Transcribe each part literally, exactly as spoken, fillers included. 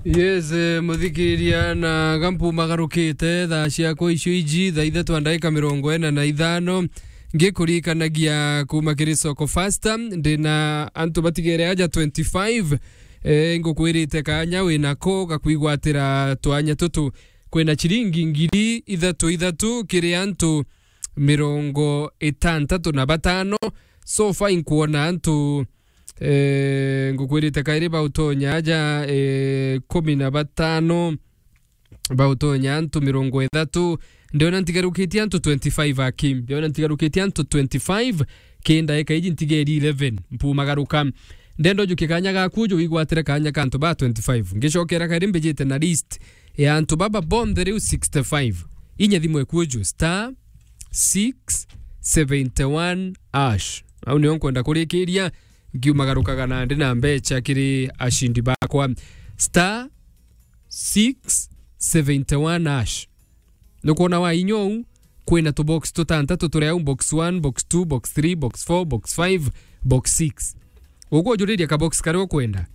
Yes, eh, muthikiria, na gampu magarukite thaa ciakwa icio iji, thaa ithatu na ndagika mirongo ina na ithano. Ngikurikanagia kuma kiri Soko Fasta, ndina antu batigere aja twenty-five. Eh, ngukwirite kanya winako gakwigwatira twanya tutu. Kwina chiringi ngiri ithatu ithatu kiri antu mirongo itantatu na batano. So far inkwona antu, eh, ngukwirite kairi bautonya aja, eh, kumi na batano, bautonya antu mirongo ithatu. Ndiona ntigarukitie antu twenty-five aki. Ndiona ntigarukitie antu twenty-five. Ki ndaika iji ntigeri eleven. Mpumagaruka. Ndenda ujukie kanya gaku uju wigwatire kanya ka antu ba twenty-five. Ngicokera kairi mbijite na list ya antu baba bonthe riu sixty-five. Inya thimu eku uju star six seventy-one hash. Au nio nkwenda kurikiria, ngiumagarukaga na ndi na mbecha kiri ashindi bakwa. Star six seventy-one hash. Nukwona wa inya uu, kwina tubox tutantatu turi au, box one, box two, box three, box four, box five, box six. Ukwujuriria kabox karia ukwenda.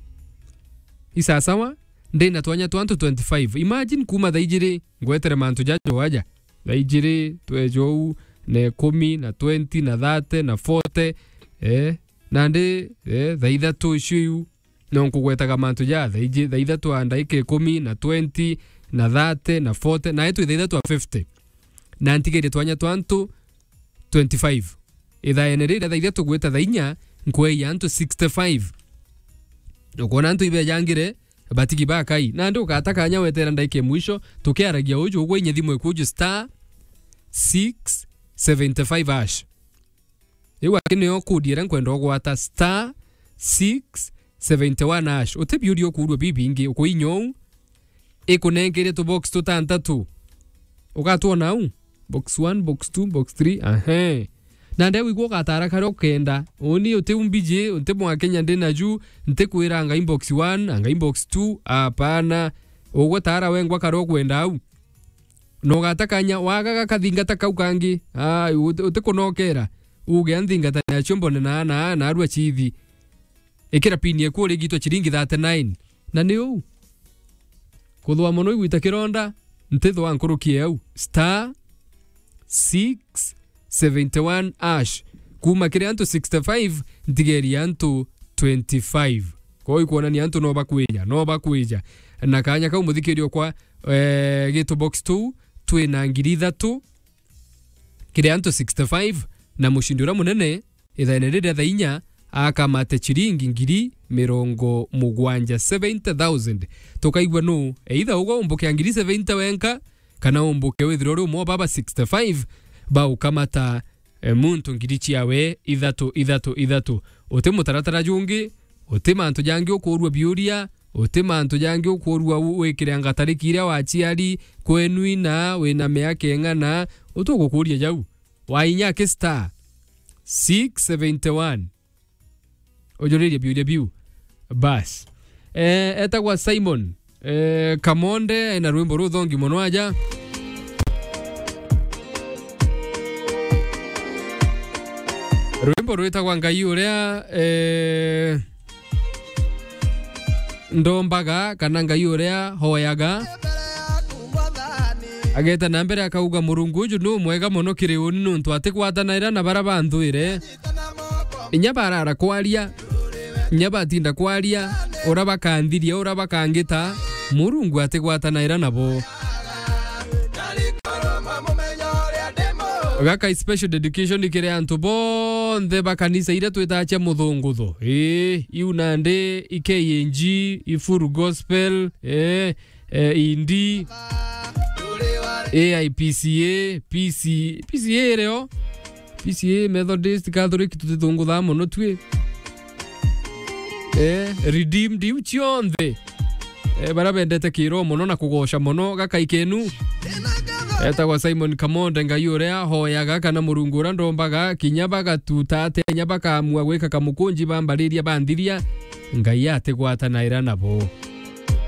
Isasawa, ndina twanya twa antu twenty-five. Imagine kuma thaa ijiri ngwetere mantu jajo aja. Thaa ijiri, twejo uu, na ikumi, na twenty, na thirty, na forty. Eh, nandi, eh, thaa ithatu icio iu, no nkugwetaga mantu ja thaa iji-, thaa ithatu a ndaika ikumi, na twenty, na thirty, na forty, na itwi thaa ithatu a fifty. Na ntigerie twanya twa antu twenty-five. Ithaene riria thaa ithatu gwita thaa inya, nkweia antu sixty-five. Ukwona antu ibejangire, batigi ba Kai. Nandi ugata kanya wetera ndaika ya mwisho, tukiaragia uju ugwe inya thimu ikuju star six seventy-five hash. Riu aki nio kudi iria nkwenda ugwata, star six seventy-one hash. Uti biuria ukuurua bibingi, ukuinya uu, ikunengeire tubox tutantatu. Ugatwona au? Box one, box two, box three, ahe. Na nde wigua ugatara karia ukenda. Uni uti umbiji, uti mwa Kenya ndi naju, nti kwira anga inbox one, anga inbox two, apana. Ugwe tara wengwa karia ukwenda au. Na ugata kanya, waga gakathingata kau kangi, aa, uti, uti kunokera. Uge anthingata nacio mbone na, na, narua chithi. Ikira pin eku urigitwe chiringi thirty-nine. Na ni uu. Kuthwa mono igwita kironda, ntithwa nkuruki e au. Star six seventy-one hash. Kuma kiri antu sixty-five, ntigeria antu twenty-five. Kwou ikwonania antu no bakwija, no bakwija. Na kanya kau muthikiria okwa, eh, gitu box tu, twina ngiri ithatu kiri antu sixty-five, na mushindi uria munene, ithaene riria thaa inya, akamate chiringi ngiri mirongo mugwanja, seventy thousand. Tukaigua nu, either ugwe umbuke a ngiri seventy wenka, kana umbuke withirwe uri umwe wa baba sixty-five, baukamata, e, muntu ngiri ciawe ithatu, ithatu, ithatu. Uti mutaratara jungi, uti mantu jangi ukuurua biuria, uti mantu jangi ukuurua u-, wikire anga tariki iria waciari, kwenu ina, wina miaka ing'ana, uti ugukuuria jau. Wainya ki star six seventy-one. Ujuririe biuria biu. Bas. Eh, etagwa Simon, eh, Kamonde, ena rwimbo ruthongi mono aja. Rwimbo rwitagwa Ngai uria, eh, ndombaga, kana Ngai uria hoyaga. Ageta na mbere akauga, "Murungu uju nu mwega mono kiri uni, nuntu atigwatanaira na bara banthwire. Inya barara kwaria, inya batinda kwaria, ura bakanthiria, ura bakangita, Murungu atigwatanaira nabo." Gaka i special dedication kiri antu bonthe ba kanisa iria twitaga cia muthungutho. Ii, iu nandi i K N G, i Full Gospel, ii, eh, Indi, A I P C A, P C, P C A irio, P C A, Methodist, Catholic, tutithunguthaa mono twi. Eh, Redeemed, iu cionthe. Eh, baria bendete kiroho mono na kugoca mono, gakai kenu. Etagwa Simon Kamonde, Ngai uria hoyaga, kana Murungu uria ndombaga, kinya bagatuta atia, kinya bakaamua gwika kamukunji bambariria banthiria, Ngai atigwatanaira nabo.